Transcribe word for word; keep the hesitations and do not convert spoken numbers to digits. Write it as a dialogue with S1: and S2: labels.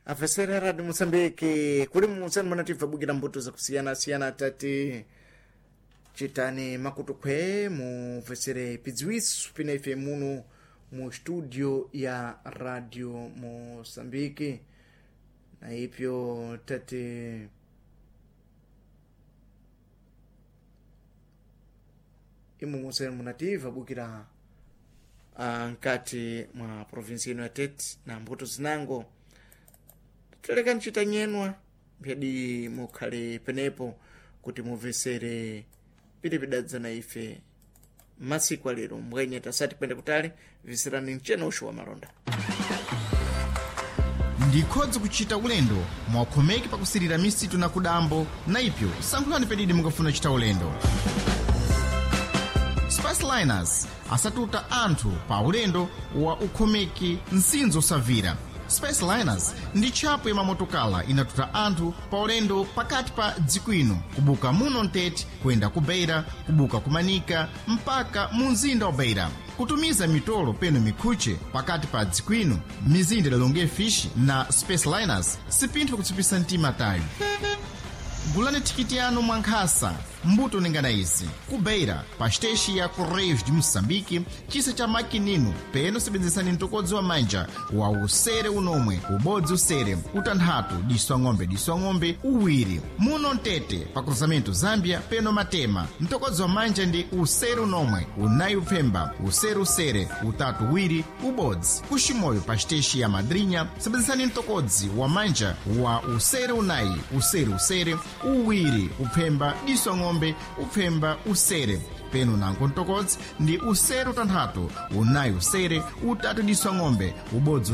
S1: Afesera Radio Mosambiki kuli musani munatibva bukira mbuto zakusiyana-siyana. Tati chitani makutukhwe mubvesere pidziwiso pina ife muno mu studio ya Radio Mosambiki. Na ipyo tati imu musani munativa bukira ah, nkati mwa provinsi ino ya Tete na mbuto zinango. Telekani chita nyenwa mphedi mukhale penepo kuti mubvesere pitipidadza na ife masiku alero mbwenye tasati kwende kutali. Viserani mcheno ushu wa malonda.
S2: Ndikhodzi kuchita ulendo mwakhomeki pakusirira misitu na kudambo, na ipyo sankhulani pedidi mukafuna kuchita ulendo. Spaceliners asatuta anthu pa ulendo wa ukhomeki msinzo osavira. Spaceliners ndi tchapo ya mamotokala inatuta anthu pa ulendo pakati pa dziko ino, kubuka muno mtete kuyenda ku Beira, kubuka ku Manika mpaka mu mzinda wa Beira, kutumiza mitolo peno mikhuche pakati pa dziko ino, mizinda idalonge fishi na Spaceliners sipinthu kutsipisa mtima tayo. Gulani thikiti yanu mwankhasa mbuto ningana izi: ku Beira pa xiteshi ya Correios de Moçambique, chisa cha makinino, peno sebenzesani mtokodzi wa manja wa usere unomwe, ubodzi usere, utanthatu diso ng'ombe diso ng'ombe uwiri. Muno mtete pa cruzamento Zambia peno Matema, mtokodzi wa manja ndi usere unomwe, unayi upfemba, usere usere, utatu uwiri, ubodzi. Kuximoyo pa xiteshi ya Madrinha sebenzesani mtokodzi wa manja wa usere unayi, usere usere, uwiri, upfemba, diso ng'ombe, upfemba, usere, peno nango mtokodzi ndi usere utanthatu, unayi usere, utatu diso ng'ombe, ubodzi.